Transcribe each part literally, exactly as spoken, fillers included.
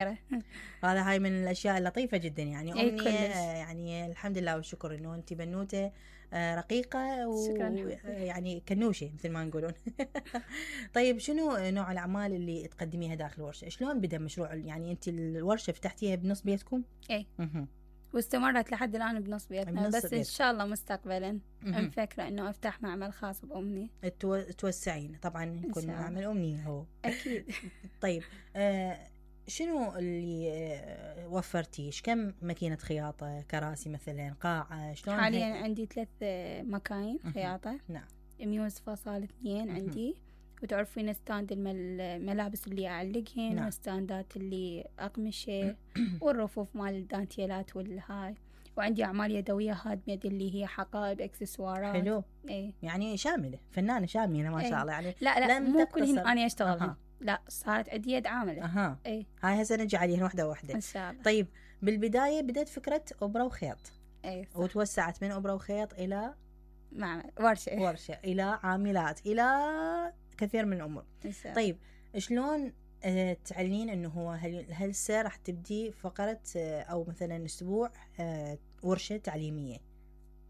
هذا هاي من الاشياء اللطيفه جدا يعني. أي امنيه كلش. يعني الحمد لله والشكر انه انت بنوته آه، رقيقه شكراً ويعني كنوشه مثل ما نقولون. طيب شنو نوع الاعمال اللي تقدميها داخل الورشه؟ شلون بدا مشروع يعني انت الورشه فتحتيها بنص بيتكم؟ اي مهم. واستمرت لحد الان بنص بيتنا، بنص بس ان بيتكم. شاء الله مستقبلا مهم. مفكره انه افتح معمل خاص بامني. تو... توسعين طبعا يكون شاء الله. معمل امنيه هو. اكيد. طيب آه شنو اللي آه وفرتي؟ ايش كم ماكينه خياطه، كراسي مثلا، قاعه، شلون؟ حاليا هي... عندي ثلاث مكاين مهم. خياطه. نعم. ميوز فصال اثنين عندي، وتعرفين ستاند المل- الملابس اللي اعلقهن، نعم. وستاندات اللي اقمشه، والرفوف مال الدانتيلات والهاي. وعندي اعمال يدويه هاد ميد اللي هي حقائب اكسسوارات. حلو. ايه. يعني شامله، فنانه شامله ما شاء إيه. الله يعني. لا لا لم مو كلهن تقتصر. انا اشتغلهن. أها. لا صارت عندي يد عامله. اها. ايه هاي هسه نجي عليهن واحده واحده ان شاء الله. طيب بالبدايه بدأت فكره ابره وخيط، ايه صح. وتوسعت من ابره وخيط الى معمل ورشه. ورشه، الى عاملات، الى كثير من الامور. إن شاء الله. طيب شلون آه، تعلنين انه هو هل هسه راح تبدي فقره آه، او مثلا اسبوع آه، ورشه تعليميه؟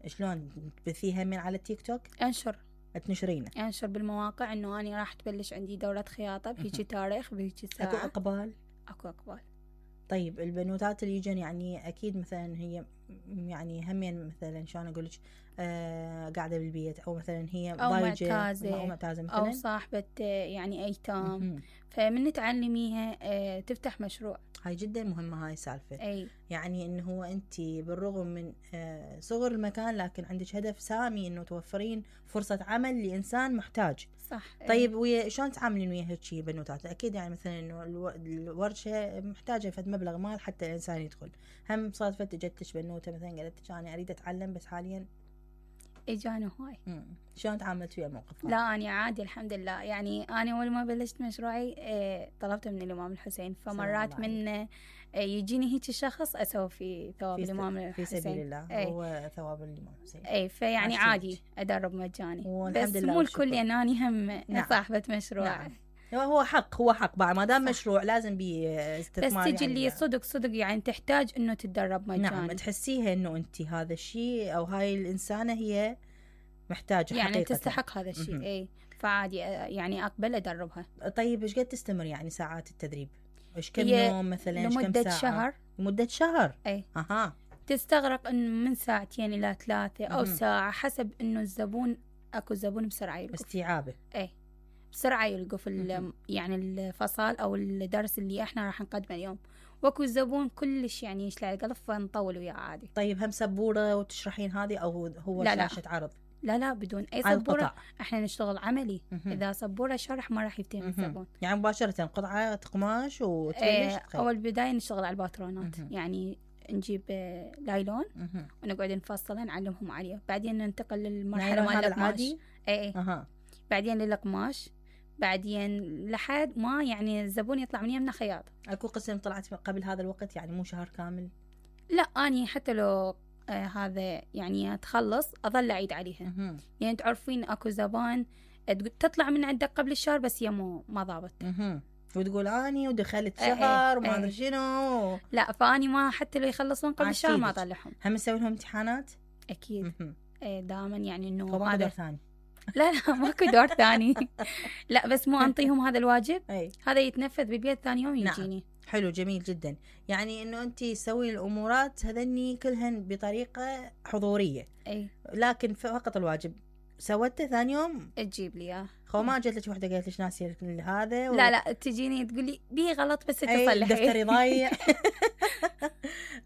شلون تبثيها من على التيك توك؟ انشر تنشرينه؟ انشر بالمواقع انه انا راح تبلش عندي دوره خياطه بهيجي تاريخ بهيجي اكو ساعه. اقبال؟ اكو اقبال. طيب البنوتات اللي يجن يعني اكيد مثلا هي يعني همين مثلا شلون اقول لك آه قاعده بالبيت، او مثلا هي او ضايجه معتازه او معتازه مثلا، او صاحبه آه، يعني ايتام. مهم. فمن تعلميها آه، تفتح مشروع. هاي جدا مهمه هاي السالفه. اي يعني انه هو انت بالرغم من آه، صغر المكان لكن عندك هدف سامي انه توفرين فرصه عمل لانسان محتاج. صح. إيه. طيب ويا شلون تعاملين ويا هيك بنوتات؟ اكيد يعني مثلا انه الو- الورشه محتاجه فد مبلغ مال حتى الانسان يدخل. هم صادفت اجت لك بنوته مثلا قالت لك انا اريد اتعلم بس حاليا اجانا هواي. مم. شلون تعاملت ويا الموقف هذا؟ لا أنا عادي الحمد لله. يعني أنا أول ما بلشت مشروعي آه، طلبت من الإمام الحسين، فمرات سلام من آه، يجيني هيك الشخص أسوي في ثواب في, الإمام س... في الحسين. سبيل الله. أي. هو ثواب الامام الحسين. اي فيعني عشتي عادي لك. ادرب مجاني، والحمد بس لله مو والشكر. الكل يعني أنا هم نعم. صاحبة مشروع. نعم. هو هو حق هو حق بعد ما دام صح. مشروع لازم بيه بس استثمار تجي يعني. اللي صدق صدق يعني تحتاج انه تتدرب مجاني. نعم تحسيها انه انت هذا الشيء او هاي الانسانه هي محتاجه يعني حقيقه تستحق هذا الشيء. مهم. اي فعادي آه، يعني اقبل ادربها. طيب ايش قد تستمر يعني ساعات التدريب؟ ايش كم هي يوم مثلا؟ ايش كم لمدة ساعه؟ شهر. لمده شهر. اي اها. تستغرق إن من ساعتين الى ثلاثة او مهم. ساعة حسب انه الزبون. اكو زبون بسرعة يلقف. استيعابه. اي بسرعة يلقف ال- مهم. يعني الفصل او الدرس اللي احنا راح نقدمه اليوم. واكو زبون كلش يعني يشلع القلب فنطول وياه عادي. طيب هم سبوره وتشرحين هذه او هو لا لا. شاشه عرض؟ لا لا بدون اي على سبورة. القطع. احنا نشتغل عملي. مهم. اذا سبورة شرح ما راح يفتهم مهم. الزبون. يعني مباشره قطعه قماش وتبلش ايه تخيط. اول بداية نشتغل على الباترونات. مهم. يعني نجيب آه، لايلون مهم. ونقعد نفصله نعلمهم عليه، بعدين ننتقل للمرحلة نايلون مال هذا القماش. العادي؟ اي اي اها. بعدين للقماش، بعدين لحد ما يعني الزبون يطلع من يمنا خياط. اكو قسم طلعت قبل هذا الوقت يعني مو شهر كامل؟ لا اني حتى لو آه هذا يعني تخلص اظل اعيد عليها. مهم. يعني تعرفين اكو زبان تقول- تطلع من عندك قبل الشهر بس هي مو ما ضابط. مهم. وتقول اني ودخلت إيه شهر إيه وما ادري إيه. شنو. لا فاني ما حتى لو يخلصون قبل الشهر ما عاشيدك. اطلعهم. هم نسوي لهم امتحانات؟ اكيد. مهم. إيه دائما يعني انه فما دور هذا. ثاني؟ لا لا ماكو دور ثاني. لا بس مو انطيهم هذا الواجب، اي هذا يتنفذ بالبيت ثاني يوم نعم. يجيني. حلو جميل جدا. يعني انه انت تسوي الامورات هذني كلهن بطريقه حضوريه، اي لكن فقط الواجب سوته ثاني يوم تجيب لي اياه. خو ما جت لك وحده قالت لك ناسيه هذا و... لا لا تجيني تقول لي بيه غلط بس اي تصلحي. دفتري ضايع.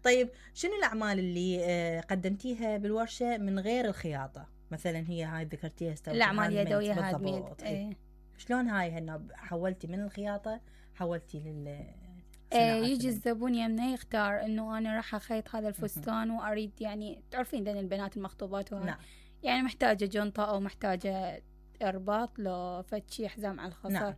طيب شنو الاعمال اللي آه، قدمتيها بالورشه من غير الخياطه؟ مثلا هي هاي ذكرتيها استوت الاعمال هاند ميد. يدويه هاند ميد. بالضبط. إيه. ايه شلون هاي هنا حولتي من الخياطه حولتي لل ايه يجي الزبون يمنا يختار انه انا راح اخيط هذا الفستان مهم. واريد يعني تعرفين ذن البنات المخطوبات وهاي. نعم. يعني محتاجه جنطه او محتاجه ارباط لو فتشي حزام على الخصر. نعم.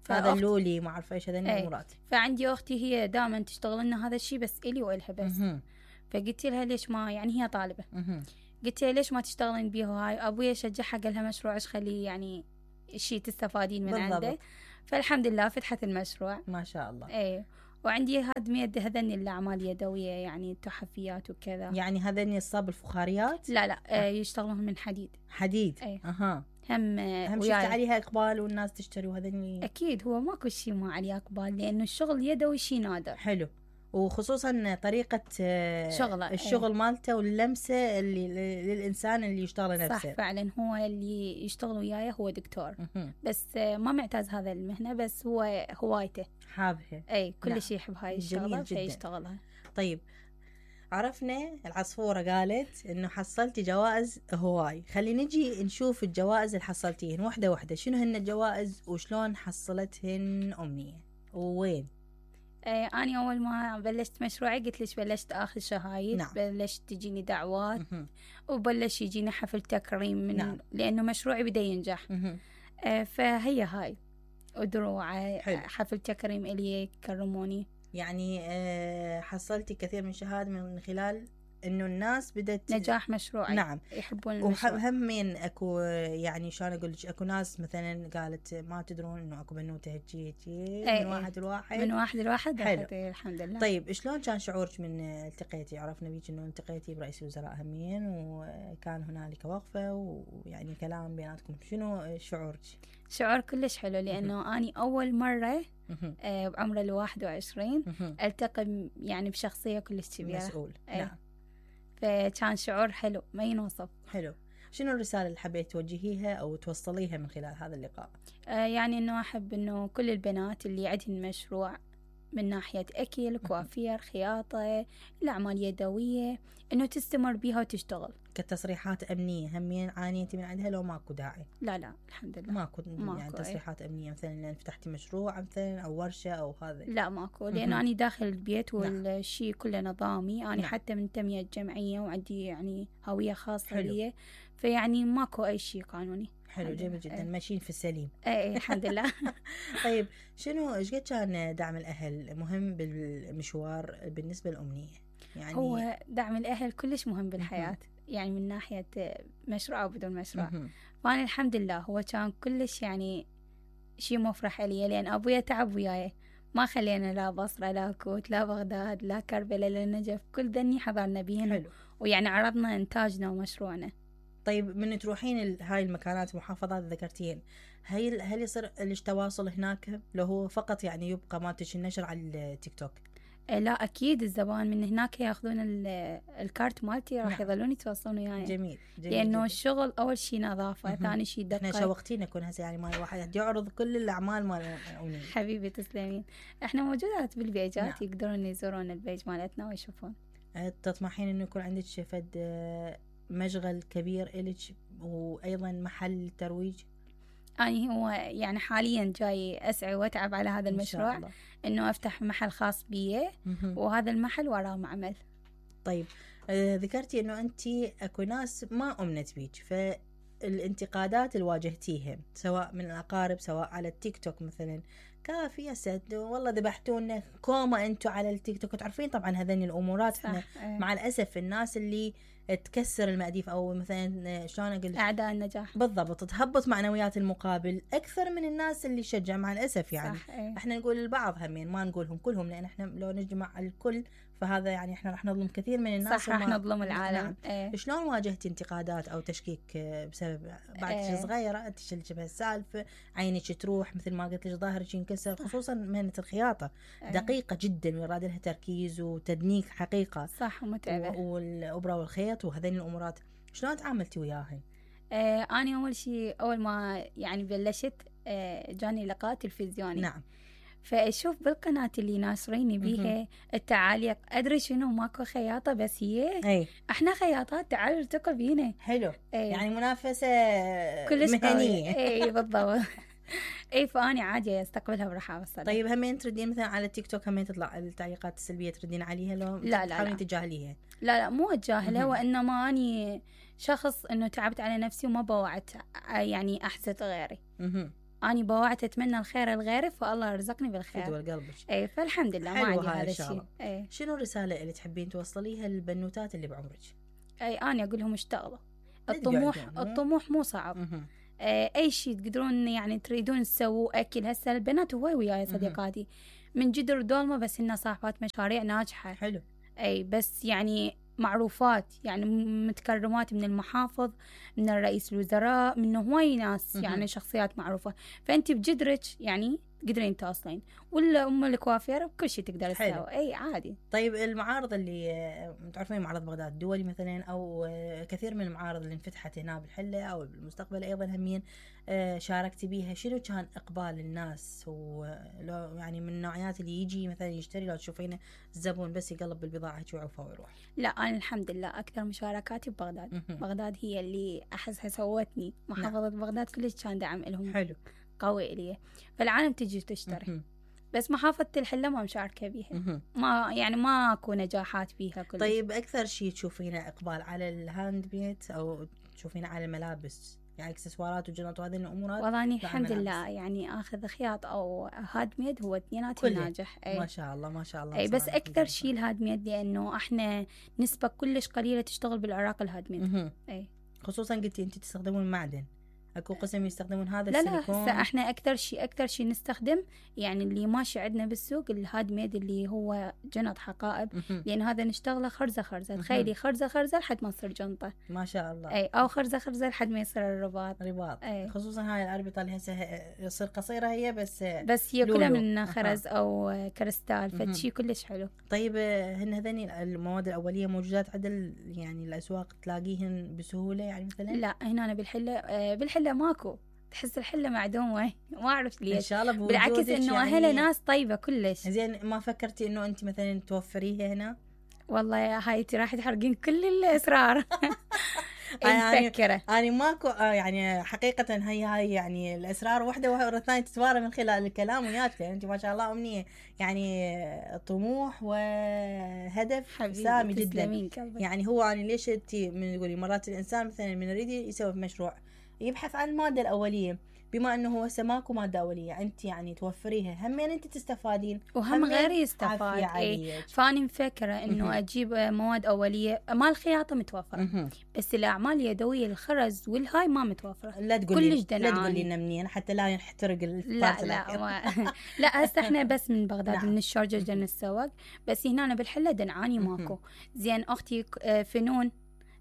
فأخت- هذا اللولي ما اعرف ايش هذا إيه. الامورات. فعندي اختي هي دائما تشتغل لنا هذا الشيء بس الي والها بس. مهم. فقلت لها ليش ما يعني هي طالبه، مهم. قلت لها ليش ما تشتغلين بيه هاي. ابويا شجعها قال لها مشروع ايش خليه يعني شيء تستفادين من بالضبط. عنده. فالحمد لله فتحت المشروع. ما شاء الله. ايه وعندي هاد يد هذن الأعمال يدوية يعني تحفيات وكذا. يعني هذني الصاب الفخاريات؟ لا لا آه. يشتغلون من حديد. حديد. أي. اها. هم هم شفت عليها اقبال والناس تشتري وهذني. اكيد هو ماكو شيء ما عليه اقبال لانه الشغل يدوي شيء نادر. حلو. وخصوصا طريقة شغله الشغل ايه. مالته واللمسة اللي للإنسان اللي يشتغل نفسه. صح فعلا هو اللي يشتغل وياي هو دكتور م- بس ما معتاز هذا المهنة بس هو هوايته حابها. اي كل نعم. شيء يحب هاي الشغلة فيشتغلها. طيب عرفنا العصفورة قالت انه حصلتي جوائز هواي، خلي نجي نشوف الجوائز اللي حصلتيهن واحدة واحدة. شنو هن الجوائز وشلون حصلتهن أمنية ووين؟ ايه أنا أول ما بلشت مشروعي قلت ليش بلشت آخذ شهايد. نعم. بلشت تجيني دعوات مه. وبلش يجيني حفل تكريم من نعم. لأنه مشروعي بدأ ينجح. آه فهي هاي ودروع حفل تكريم إلي كرموني. يعني آه حصلتي كثير من شهادة من خلال انه الناس بدت نجاح مشروعي. نعم يحبون المشروع. وهمين اكو يعني شلون اقول لك اكو ناس مثلا قالت ما تدرون انه اكو بنوته هجي هجي من واحد لواحد من واحد لواحد. حلو. الحمد لله. طيب شلون كان شعورك من التقيتي؟ عرفنا بيك انه التقيتي برئيس وزراء همين وكان هنالك وقفه ويعني كلام بيناتكم، شنو شعورك؟ شعور كلش حلو لانه اني اول مره آه بعمر الواحد وعشرين التقي يعني بشخصيه كلش كبيره مسؤول. أيه. نعم. فكان شعور حلو ما ينوصف. حلو. شنو الرسالة اللي حبيت توجهيها أو توصليها من خلال هذا اللقاء؟ آه يعني إنه أحب إنه كل البنات اللي عندهن مشروع من ناحية أكل كوافير خياطة الأعمال يدوية إنه تستمر بيها وتشتغل. كتصريحات أمنية همين عانيتي من عندها لو ماكو داعي؟ لا لا الحمد لله ماكو, ماكو يعني تصريحات أي. أمنية مثلا لأن فتحتي مشروع مثلا أو ورشة أو هذا؟ لا ماكو لأنه أنا داخل البيت والشيء كله نظامي. أنا نعم. حتى منتمية جمعية وعندي يعني هوية خاصة لي فيعني ماكو أي شيء قانوني. حلو جميل جدا. ايه. ماشيين في السليم. اي الحمد لله. طيب شنو ايش قد كان دعم الاهل مهم بالمشوار بالنسبه للامنيه؟ يعني هو دعم الاهل كلش مهم بالحياه يعني من ناحيه مشروع او بدون مشروع. فانا الحمد لله هو كان كلش يعني شيء مفرح لي لان ابويا تعب وياي ما خلينا لا بصره لا كوت لا بغداد لا كربلاء لا النجف كل ذني حضرنا بيهن ويعني عرضنا انتاجنا ومشروعنا. طيب من تروحين هاي المكانات المحافظات ذكرتين هل هل يصير التواصل هناك لو هو فقط يعني يبقى مالتش النشر على التيك توك؟ لا اكيد الزبائن من هناك ياخذون الكارت مالتي راح يظلون يتواصلون وياي. يعني جميل, جميل لانه جميل. الشغل اول شيء نظافه ثاني شيء دقه. احنا شوقتينا يكون هسه يعني مال واحد يعرض كل الاعمال مال حبيبي تسلمين. احنا موجودات بالبيجات. نعم. يقدرون يزورون البيج مالتنا ويشوفون. تطمحين انه يكون عندك فد مشغل كبير إلك وايضا محل ترويج؟ أنا هو يعني حاليا جاي أسعى وأتعب على هذا المشروع إنه أفتح محل خاص بي وهذا المحل وراه معمل. طيب آه ذكرتي إنه أنتي أكو ناس ما أمنت بيك فالانتقادات اللي واجهتيهم سواء من الأقارب سواء على التيك توك مثلا كافي يا سد والله ذبحتونا كوما أنتوا على التيك توك. تعرفين طبعا هذين الأمورات احنا مع الأسف الناس اللي تكسر المأديف او مثلا شلون اقول اعداء النجاح بالضبط تهبط معنويات المقابل اكثر من الناس اللي شجع مع الاسف يعني. صح. ايه. احنا نقول البعض همين ما نقولهم كلهم لان احنا لو نجمع الكل فهذا يعني احنا راح نظلم كثير من الناس. صح راح نظلم العالم. نعم. ايه. شلون واجهتي انتقادات او تشكيك بسبب بعد ايه. صغيره انت شلتي بهالسالفه عينك تروح مثل ما قلت لك ظهرك ينكسر خصوصا مهنه الخياطه. ايه. دقيقه جدا ويراد لها تركيز وتدنيك حقيقه. صح ومتعبه والابره والخيط وهذين الامورات شلون تعاملتي وياهن؟ آه انا اول شيء اول ما يعني بلشت آه جاني لقاء تلفزيوني. نعم. فاشوف بالقناه اللي ناشريني بيها التعاليق ادري شنو ماكو خياطه بس هي أي. احنا خياطات تعالوا التقوا بينا. حلو. أي. يعني منافسه مهنيه. اي بالضبط. اي فاني عادي استقبلها برحاب الصدر. طيب همين تردين مثلا على التيك توك همين تطلع التعليقات السلبيه تردين عليها لو لا لا تحاولين تتجاهليها؟ لا لا مو اتجاهلها وانما اني شخص انه تعبت على نفسي وما بوعت يعني احسد غيري. اها اني بوعت اتمنى الخير لغيري فالله يرزقني بالخير. فدوى قلبك. اي فالحمد لله ما عندي هذا الشيء. اي شنو الرساله اللي تحبين توصليها للبنوتات اللي بعمرك؟ اي انا اقول لهم اشتغلوا الطموح الطموح مو صعب. مه. اي شيء تقدرون يعني تريدون تسووا اكل هسه البنات هواي وياي صديقاتي من جدر دولمة، بس إنها صاحبات مشاريع ناجحة. حلو. أي بس يعني معروفات، يعني متكرمات من المحافظ، من الرئيس الوزراء، من هواي ناس يعني شخصيات معروفة. فأنت بجدرك يعني تقدرين تواصلين، ولا أم الكوافير بكل شيء تقدر تسوي. أي عادي. طيب المعارض اللي تعرفين، معرض بغداد الدولي مثلا، أو كثير من المعارض اللي انفتحت هنا بالحلة أو بالمستقبل أيضا همين شاركتي بيها، شنو كان إقبال الناس؟ ولو يعني من النوعيات اللي يجي مثلا يشتري، لو تشوفينه الزبون بس يقلب بالبضاعة يوعفها ويروح؟ لا أنا الحمد لله أكثر مشاركاتي ببغداد. بغداد هي اللي أحسها سوتني محافظة. نعم. بغداد كلش كان دعم لهم حلو قوي إليه، فالعالم تجي تشتري. بس محافظة الحلة ما مشاركة بيها، ما يعني ما أكو نجاحات بيها كلش. طيب أكثر شيء تشوفينه إقبال على الهاند ميد أو تشوفينه على الملابس، يعني اكسسوارات وجنط وهذه الامورات؟ والله الحمد لله يعني اخذ خياط او هاد ميد هو اثنيناتهم ناجح. أي. ما شاء الله ما شاء الله. اي بس اكثر شيء الهاد ميد، لانه احنا نسبه كلش قليله تشتغل بالعراق الهاد ميد. اي خصوصا قلتي انت تستخدمون معدن، اكو قسم يستخدمون هذا لا السيليكون. لا هسه احنا اكثر شيء اكثر شيء نستخدم يعني اللي ماشي عندنا بالسوق الهاد ميد اللي هو جنط حقائب، لان هذا نشتغله خرزه خرزه. تخيلي خرزه خرزه لحد ما تصير جنطه. ما شاء الله. اي او خرزه خرزه لحد ما يصير الرباط. رباط. أي. خصوصا هاي الاربطه اللي هسه يصير قصيره هي بس بس هي كلها من خرز او كريستال، فشي كلش حلو. طيب هن هذني المواد الاوليه موجودات عند يعني الاسواق تلاقيهن بسهوله يعني مثلا؟ لا هنا بالحله بالحله ماكو، تحس الحلة معدومة ما أعرف ليش. إن شاء الله بوجودك. بالعكس إنه يعني أهلها ناس طيبة كلش. زين ما فكرتي إنه أنت مثلا توفريها هنا؟ والله يا هايتي راح تحرقين كل الأسرار. يعني مفكرة أنا ماكو يعني حقيقة هي هاي يعني الأسرار واحدة ورا الثانية تتوارى من خلال الكلام وياك. يعني أنت ما شاء الله أمنية يعني طموح وهدف سامي جدا. يعني هو يعني ليش أنت من تقولي مرات الإنسان مثلا من يريد يسوي مشروع يبحث عن المادة الأولية، بما أنه هو سماكو مادة أولية أنت يعني توفريها، همين أنت تستفادين وهم غيري يستفاد. إيه. فأنا مفكرة إنه أجيب مواد أولية. ما الخياطة متوفرة بس الأعمال اليدوية الخرز والهاي ما متوفرة. لا تقولي لا تقولي لنا منين حتى لا يحترق لا لا ما. لا هسه إحنا بس من بغداد. نعم. من الشارجة جن السواق، بس هنا بالحلة دنعاني ماكو. زين أختي فنون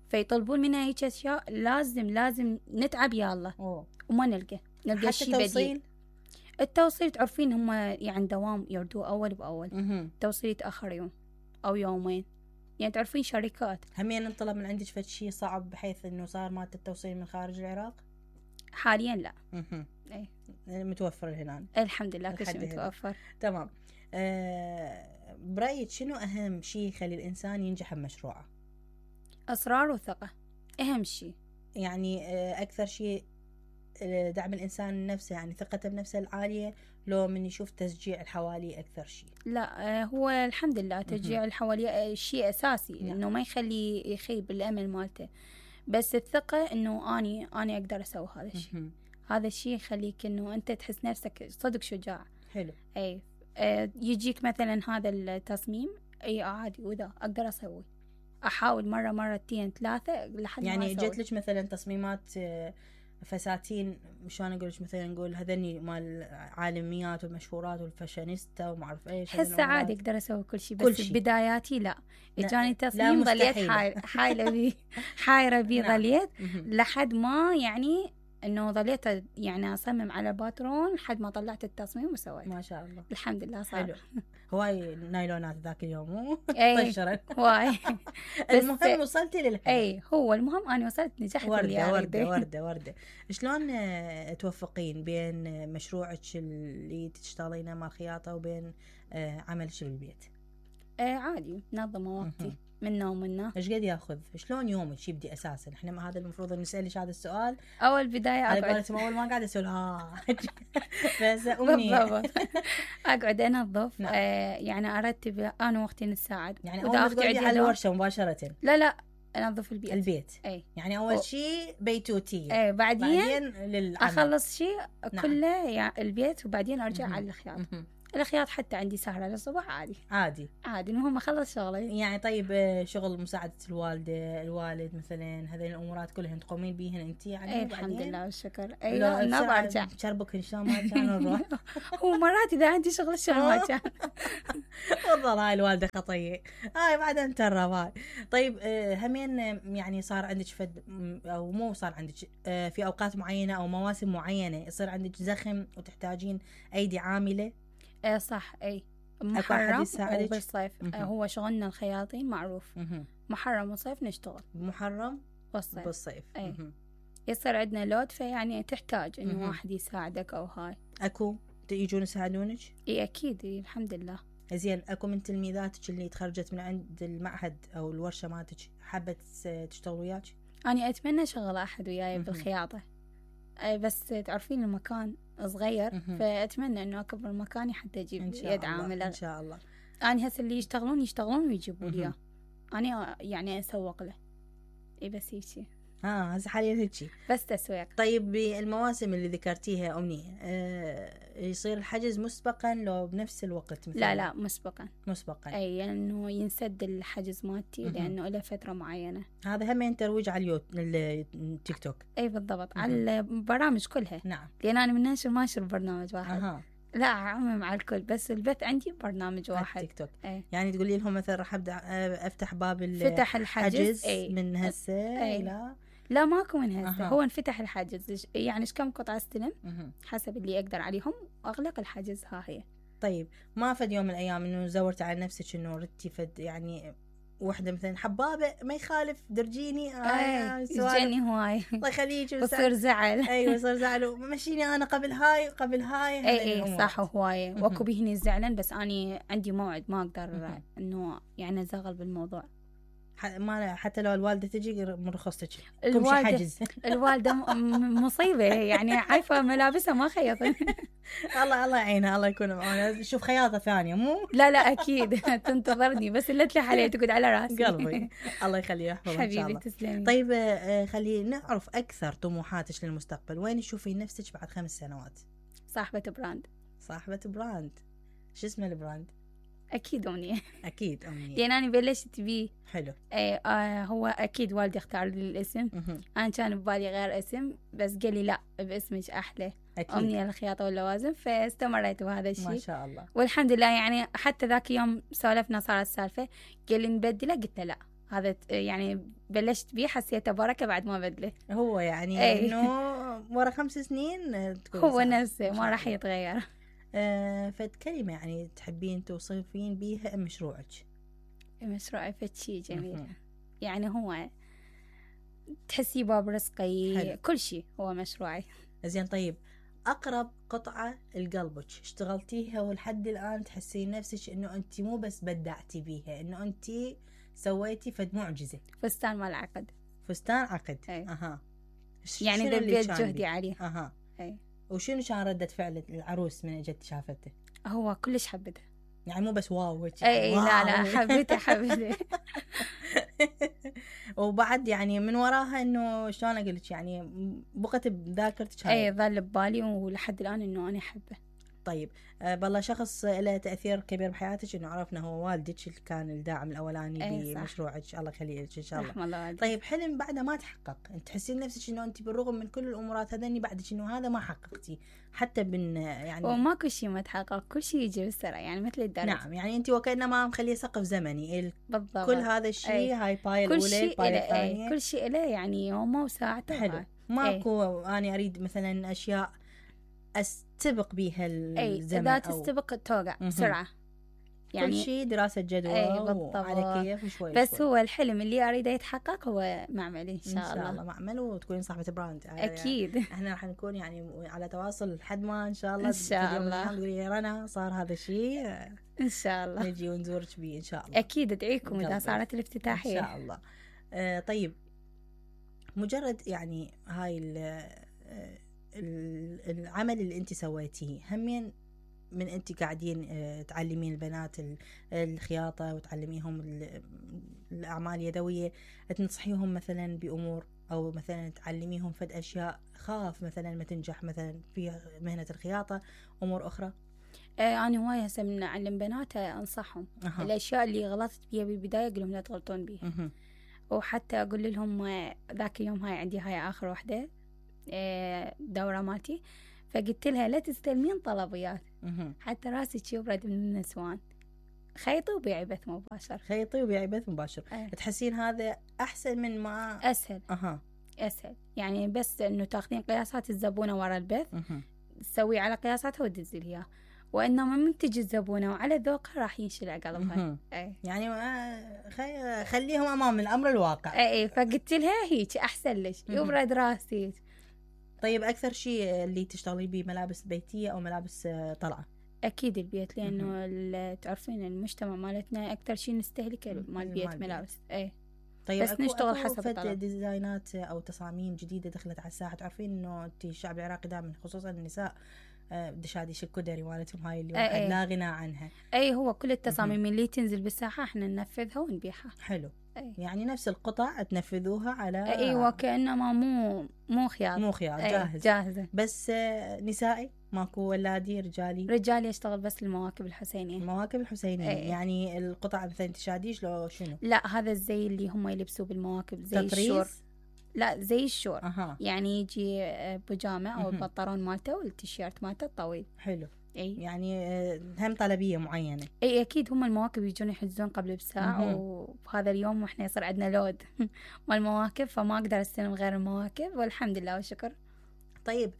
فيطلبون منها هيك أشياء، لازم لازم نتعب يا الله. أوه. وما نلقى نلقى شيء بديل. التوصيل تعرفين هم يعني دوام يردوه أول بأول. التوصيل يتأخر يوم أو يومين، يعني تعرفين شركات. همين انطلب من عندك فد شيء صعب بحيث إنه صار مادة التوصيل من خارج العراق؟ حاليا لا. أي. متوفر هنا الحمد لله كل شيء متوفر. تمام. آه برأيك شنو أهم شيء يخلي الإنسان ينجح بمشروعه؟ أسرار وثقة أهم شيء. يعني أكثر شيء دعم الإنسان نفسه، يعني ثقته بنفسه العالية، لو من يشوف تشجيع الحوالي أكثر شيء؟ لا هو الحمد لله تشجيع الحوالي شيء أساسي. نعم. إنه ما يخلي يخيب الأمل مالته، بس الثقة إنه أني أنا أقدر أسوي هذا الشيء. هذا الشيء يخليك إنه أنت تحس نفسك صدق شجاع. حلو. أي يجيك مثلا هذا التصميم أي عادي وذا أقدر أسوي، أحاول مرة مرتين ثلاثة لحد يعني ما يعني جت لك مثلا تصميمات فساتين، شلون اقول لك مثلا نقول هذني مال عالميات والمشهورات والفاشينيستا وما اعرف ايش. هسه عادي اقدر اسوي كل شيء، بس بداياتي لا اجاني تصميم ظليت حايله بيه حايره بيه ظليت لحد ما يعني انه ظليت يعني اصمم على باترون لحد ما طلعت التصميم وسويت. ما شاء الله الحمد لله صار. حلو. هواي نايلونات ذاك اليوم مو طشرت هواي. المهم وصلتي للهدف. اي هو المهم انا وصلت نجحت. وردة وردة وردة وردة. شلون توفقين بين مشروعك اللي تشتغلينه مع الخياطة وبين عملك بالبيت؟ ايه عادي منظمة وقتي منا ومنا. ايش قد ياخذ؟ شلون يومك يبدي اساسا؟ احنا هذا المفروض نسالك هذا السؤال اول بدايه. اقعد على اول ما قاعده اسال ها بس امي اقعد انظف. نعم. آه يعني ارتب انا واختي نتساعد. يعني اول ما تقعدي على الورشه مباشره؟ لا لا انظف البيت. البيت. اي يعني اول شيء بيتوتيه. اي بعدين, بعدين للعمل. اخلص شيء. نعم. كله يعني البيت وبعدين ارجع على الخياطه. الخياط حتى عندي سهرة للصبح عادي عادي عادي، المهم اخلص شغلي. يعني طيب شغل مساعدة الوالدة الوالد مثلا، هذه الامورات كلهن تقومين بيهن انت يعني؟ اي الحمد لله والشكر. اي لا ما برجع شربك ان شاء الله ما كان نروح. هو مرات اذا عندي شغل شلون ما كان. والله هاي الوالدة خطية، هاي بعدين ترى هاي. طيب همين يعني صار عندك فد او مو صار عندك في اوقات معينة او مواسم معينة يصير عندك زخم وتحتاجين ايدي عاملة؟ ايه صح. اي محرم وبالصيف. مه. هو شغلنا الخياطين معروف. مه. محرم وصيف نشتغل. محرم والصيف بالصيف. اي يصير عندنا لود، فيعني تحتاج انه واحد يساعدك او هاي. اكو يجون يساعدونك؟ اي اكيد. إيه الحمد لله. زين اكو من تلميذاتك اللي تخرجت من عند المعهد او الورشة مالتك حابة تشتغل وياك؟ أنا أتمنى شغل أحد وياي بالخياطة، بس تعرفين المكان صغير، فأتمنى إنه أكبر مكاني حتى أجيب يد عاملة إن شاء الله. أنا هسه اللي يشتغلون يشتغلون ويجيبوا لي، أنا يعني أسوق له. إي بس هيك. اه هسه حاليا هيك بس تسويق. طيب بالمواسم اللي ذكرتيها أمنية آه يصير الحجز مسبقا لو بنفس الوقت مثلا؟ لا لا مسبقا. مسبقا اي لانه يعني ينسد الحجز مالتي لانه له فتره معينه. هذا هم ترويج على اليوت... التيك توك. اي بالضبط. مه. على البرامج كلها. نعم. لان انا من ناشر ما اشر برنامج واحد. أها. لا اعمم على الكل، بس البث عندي برنامج واحد تيك توك. أي. يعني تقولي لهم مثلا راح ابدا افتح باب فتح الحجز أي. من هسه أي. لا لا ماكو من هسه. أه. هو انفتح الحجز، يعني ايش كم قطعه استلم أه. حسب اللي اقدر عليهم واغلق الحجز. ها هي. طيب ما فد يوم من الايام انه زورت على نفسك انه ردتي فد يعني وحده مثلا حبابه ما يخالف درجيني آه يجيني هواي الله يخليك وصير زعل. ايوه صار زعل مشيني انا قبل هاي قبل هاي. اي اي صح هواي واكو بيهني زعلان، بس اني عندي موعد ما اقدر انه يعني ازغل بالموضوع. ما حتى لو الوالده تجي من رخصتك الوالده حجز. الوالده مصيبه يعني عارفه ملابسها ما خيطن. الله الله يعينها الله يكون معنا. شوف خياطه ثانيه مو لا لا اكيد تنتظرني، بس اللي تلح عليه تقعد على راسي. قلبي الله يخليه يحفظها ان شاء الله. حبيبي تسلمي. طيب خلينا نعرف اكثر طموحاتك للمستقبل، وين تشوفين نفسك بعد خمس سنوات؟ صاحبه براند. صاحبه براند. شو اسمه البراند؟ اكيد امنيه. اكيد امنيه. لان انا بلشت بيه. حلو. ايه آه هو اكيد والدي اختار لي الاسم. مه. انا كان ببالي غير اسم، بس قال لي لا باسمك احلى. أكيد. امنيه الخياطه واللوازم، فاستمريت بهذا الشيء ما شاء الله. والحمد لله. يعني حتى ذاك يوم سولفنا صارت السالفه، قال لي نبدله، قلت له لا هذا يعني بلشت بيه حسيته بركه بعد ما بدله. هو يعني أي. انه ورا خمس سنين تكون هو نفسه ما راح يتغير. آه فد كلمة يعني تحبين توصفين بيها مشروعك؟ مشروعي فد شيء جميل. مه. يعني هو تحسي باب رزقي. حلو. كل شيء هو مشروعي. زين طيب أقرب قطعة لقلبك اشتغلتيها ولحد الآن تحسين نفسك إنه أنت مو بس بدعتي بيها، إنه أنت سويتي فد معجزة؟ فستان مال عقد. فستان عقد. أي. أها. يعني ذبيت جهدي عليه. أها. أي. وشنو كان ردة فعل العروس من اجت شافته؟ هو كلش حبته. يعني مو بس واو. اي لا لا حبته حبته. وبعد يعني من وراها انه شلون اقول لك يعني بقت بذاكرتك هاي. اي ظل ببالي ولحد الان انه انا احبه. طيب آه بالله شخص له تاثير كبير بحياتك انه عرفنا هو والدك اللي كان الداعم الاولاني أيه بمشروعك. الله يخليه لك ان شاء الله. رحم الله والدك. طيب حلم بعده ما تحقق، انت تحسين نفسك انه انت بالرغم من كل الامورات هذني بعدك انه هذا ما حققتي حتى بن يعني وماكو شيء ما تحقق، كل شيء يجي بالسرعه يعني مثل الدرس. نعم يعني انت وكانما مخليه سقف زمني. بالضبط. كل هذا الشيء أي. هاي باي الاولى باي الثانيه كل شيء له يعني يومه وساعته. حلو. ماكو انا اريد مثلا اشياء استبق بيها الزمن. اي اذا تستبق توقع بسرعه. يعني كل شيء دراسه جدوى وعلى كيف وشوي بس شوي. هو الحلم اللي اريده يتحقق هو معمل ان شاء, إن شاء الله. ان شاء الله معمل وتكونين صاحبه براند. اكيد. يعني احنا راح نكون يعني على تواصل لحد ما ان شاء الله ان شاء الله تقولي يا رنا صار هذا الشيء ان شاء الله نجي ونزورك بيه ان شاء الله. اكيد ادعيكم اذا صارت الافتتاحيه ان شاء الله. آه طيب مجرد يعني هاي العمل اللي انت سويتيه همين من انت قاعدين تعلمين البنات الخياطه وتعلميهم الاعمال اليدويه، تنصحيهم مثلا بامور او مثلا تعلميهم فد اشياء خاف مثلا ما تنجح مثلا في مهنه الخياطه امور اخرى؟ آه أنا هواي هسه من أعلم بنات أنصحهم أها. الأشياء اللي غلطت بيها بالبداية أقول لهم لا تغلطون بيها. مهم. وحتى أقول لهم آه، ذاك اليوم هاي عندي هاي آخر وحدة آه، دورة مالتي، فقلت لها لا تستلمين طلبيات مهم. حتى راسك يبرد من النسوان، خيطي وبيعي بث مباشر. خيطي وبيعي بث مباشر. أه. تحسين هذا أحسن من ما أسهل. أها أسهل يعني، بس إنه تاخذين قياسات الزبونة ورا البث، مهم. تسوي على قياساتها وتدزي لها، وإنما من تجي الزبونة وعلى ذوقها راح ينشلع قلبها. مهم. أي. يعني آه، خي... خليهم أمام الأمر الواقع. أي فقلت لها هيك أحسن لك مهم. يبرد راسي. طيب أكثر شيء اللي تشتغلي بيه ملابس بيتية أو ملابس آه، طلعة؟ أكيد البيت، لأنه ال- تعرفين المجتمع مالتنا أكثر شيء نستهلكه مم. مال مال بيت بيت. ملابس. أي طيب بس أكو نشتغل أكو حسب فد الطلب. ديزاينات أو تصاميم جديدة دخلت على الساحة. تعرفين إنه أنت الشعب العراقي دائما خصوصا النساء آه، دشاديش الكدري مالتهم هاي اللي أي واحد أي. لا غنى عنها. أي هو كل التصاميم اللي تنزل بالساحة احنا ننفذها ونبيعها. حلو. أي. يعني نفس القطع تنفذوها على أيوة كأنما مو مو خياط، مو خيار أي جاهز. جاهزة. بس آه، نسائي ماكو ولادي رجالي؟ رجالي يشتغل بس المواكب الحسينية. المواكب الحسينية. أي. يعني القطع مثلا تشاديش لو شنو؟ لا هذا الزي اللي هم يلبسوه بالمواكب زي الشور. تطريز؟ لا زي الشور. أها. يعني يجي آه، بيجامة أو مهم. البنطلون مالته والتيشيرت مالته الطويل. حلو. أي يعني آه، هم طلبية معينة. اي اكيد هم المواكب يجون يحجزون قبل بساعة، مهم. وبهذا اليوم واحنا يصير عندنا لود مال مواكب، فما اقدر استلم غير المواكب والحمد لله والشكر. طيب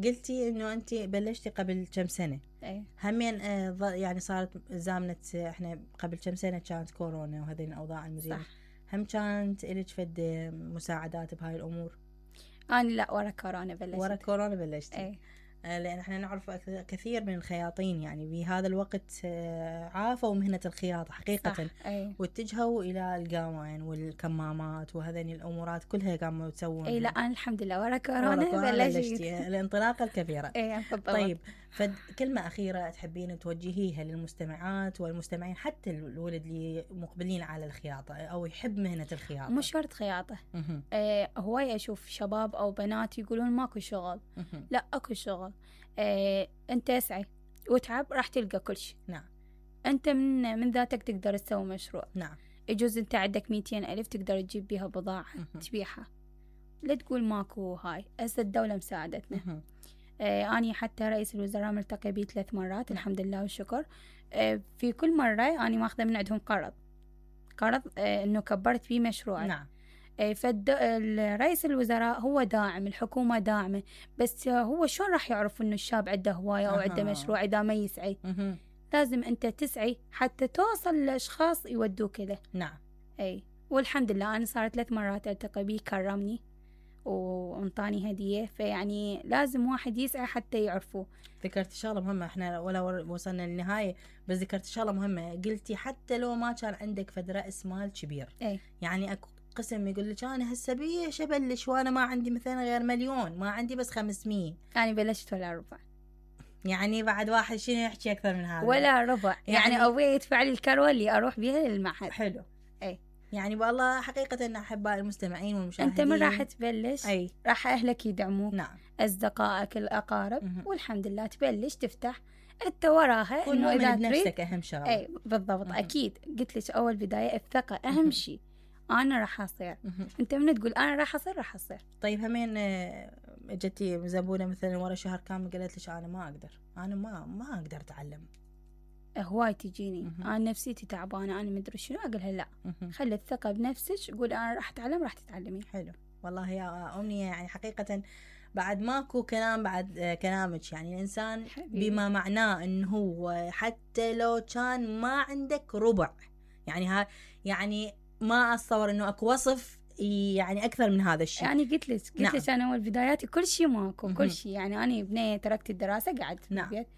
قلتي انه انت بلشتي قبل كم سنة. اي همين آه، ظ- يعني صارت زامنة آه، احنا قبل كم سنة كانت كورونا وهذه الأوضاع المزرية. صح. هم كانت إلك فد مساعدات بهاي الأمور؟ انا لا ورا كورونا بلشت. ورا كورونا بلشتي؟ اي آه، لأن احنا نعرف أك- كثير من الخياطين يعني بهذا الوقت آه، عافوا مهنة الخياطة حقيقة. صح. اي واتجهوا إلى القوان والكمامات وهذين الأمورات كلها قاموا يسوون. اي لا انا الحمد لله ورا ورا كورونا كورونا بلشت. بلشتي الانطلاقة الكبيرة. اي بالضبط. طيب فد كلمة أخيرة تحبين توجهيها للمستمعات والمستمعين حتى الولد اللي مقبلين على الخياطة أو يحب مهنة الخياطة؟ مش شرط خياطة. مهم. إيه هواي اشوف شباب او بنات يقولون ماكو شغل. مهم. لا اكو شغل. إيه انت اسعي وتعب راح تلقى كل شيء. نعم. انت من من ذاتك تقدر تسوي مشروع. نعم. يجوز انت عندك ميتين ألف تقدر تجيب بيها بضاعة مهم. تبيعها. لا تقول ماكو هاي، هسه الدولة مساعدتنا. مهم. آه أنا حتى رئيس الوزراء ملتقي بيه ثلاث مرات الحمد لله والشكر. آه في كل مرة أنا ماخذة من عندهم قرض قرض آه إنه كبرت بيه مشروعي. نعم. آه فد رئيس الوزراء هو داعم، الحكومة داعمة، بس آه هو شلون راح يعرف إنه الشاب عنده هواية أو عنده أها. مشروع إذا ما يسعي؟ مهم. لازم أنت تسعي حتى توصل لأشخاص يودوك له. نعم. اي والحمد لله انا صارت ثلاث مرات التقي بيه كرمني وانطاني هدية، فيعني لازم واحد يسعى حتى يعرفوه. ذكرت شغلة مهمة، احنا ولا وصلنا للنهاية بس ذكرت شغلة مهمة. قلتي حتى لو ما كان عندك فد رأس مال كبير. اي يعني اكو قسم يقول لك انا هسه بيش ابلش وانا ما عندي مثلا غير مليون، ما عندي بس خمسمية. انا بلشت ولا ربع. يعني بعد واحد شنو يحكي اكثر من هذا؟ ولا ربع. يعني, يعني ابوي يدفع لي الكروة اللي اروح بيها للمعهد. حلو. اي يعني والله حقيقة ان احباء المستمعين والمشاهدين، انت من راح تبلش اي راح اهلك يدعموك. نعم. اصدقائك الاقارب. مهم. والحمد لله تبلش تفتح انت وراها كل انه اذا تريد. بنفسك اهم شغله. اي بالضبط. مهم. اكيد قلت لك اول بداية الثقة مهم. اهم شيء. انا راح اصير. مهم. انت من تقول انا راح اصير راح اصير. طيب همين آه، جتي زبونة مثلا ورا شهر كامل قالت لك انا ما اقدر، انا ما ما اقدر اتعلم. هواي تجيني مهم. انا نفسيتي تعبانه انا مدري شنو، اقولها لا مهم. خلي الثقه بنفسك، قول انا راح اتعلم راح تتعلمين. حلو والله يا أمنية، يعني حقيقة بعد ماكو كلام بعد آه، كلامك. يعني الإنسان حبيبي. بما معناه إنه هو حتى لو كان ما عندك ربع، يعني ها يعني ما أتصور إنه أكو وصف يعني أكثر من هذا الشيء. يعني قلت لك قلت نعم. لك انا اول بداياتي كل شيء ماكو مهم. كل شيء. يعني انا بنيه تركت الدراسه قعدت في نعم. البيت،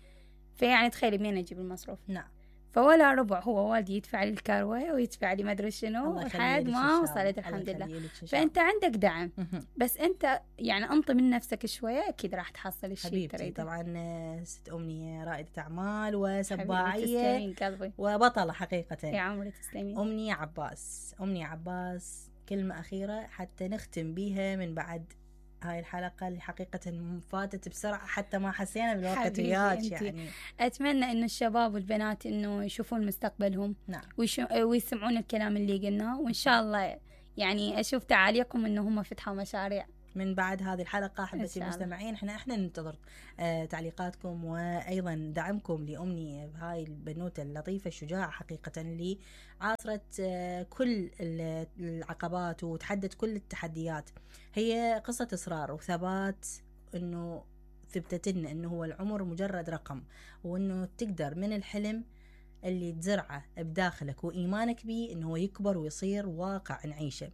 فيعني تخيلي منين اجيب المصروف؟ نعم. فولا ربع. هو والدي يدفع لي الكروه ويدفع لي ما ادري شنو الله لحد يخليلك إن ما شاء الله. وصلت الله الحمد لله. يخليلك إن شاء فانت عندك دعم، مهم. بس انت يعني انطي من نفسك شويه اكيد راح تحصل الشيء حبيبتي تريده. طبعا آه، ست أمنية رائدة أعمال حبيبي وسباعية تسلمين قلبي وبطلة حقيقة. يا عمري تسلمين. أمنية عباس. أمنية عباس كلمة أخيرة حتى نختم بيها من بعد هاي الحلقة اللي حقيقة فاتت بسرعة حتى ما حسينا بالوقت وياك. يعني أتمنى إنه الشباب والبنات إنه يشوفون مستقبلهم. نعم. ويسمعون الكلام اللي قلناه، وإن شاء الله يعني أشوف تعاليقهم إنه هم فتحوا مشاريع من بعد هذه الحلقة. أحبتي المستمعين، احنا احنا ننتظر آه تعليقاتكم وأيضا دعمكم لأمني بهاي البنوتة اللطيفة الشجاعة حقيقة اللي عاصرت آه كل العقبات وتحدت كل التحديات. هي قصة إصرار وثبات، إنه ثبتت لنا إنه هو العمر مجرد رقم، وإنه تقدر من الحلم اللي تزرعه بداخلك وإيمانك بيه إنه هو يكبر ويصير واقع نعيشه.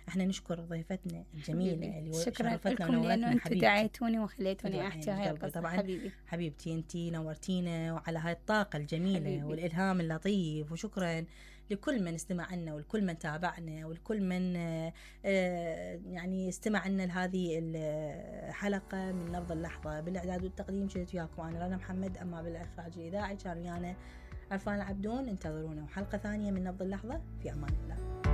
احنا نشكر ضيفتنا الجميله اللي شرفتنا ونورتنا. انتم دعيتوني وخليتوني احكي هاي القصه. طبعا حبيبي حبيبتي انتي نورتينا وعلى هاي الطاقه الجميله حبيبي. والالهام اللطيف. وشكرا لكل من استمع لنا ولكل من تابعنا ولكل من يعني استمع لنا لهذه الحلقه من نبض اللحظه. بالاعداد والتقديم شلت وياكم انا رنا محمد، اما بالاخراج الاذاعي كان ويانا عرفان العبدون. انتظرونا وحلقه ثانيه من نبض اللحظه. في امان الله.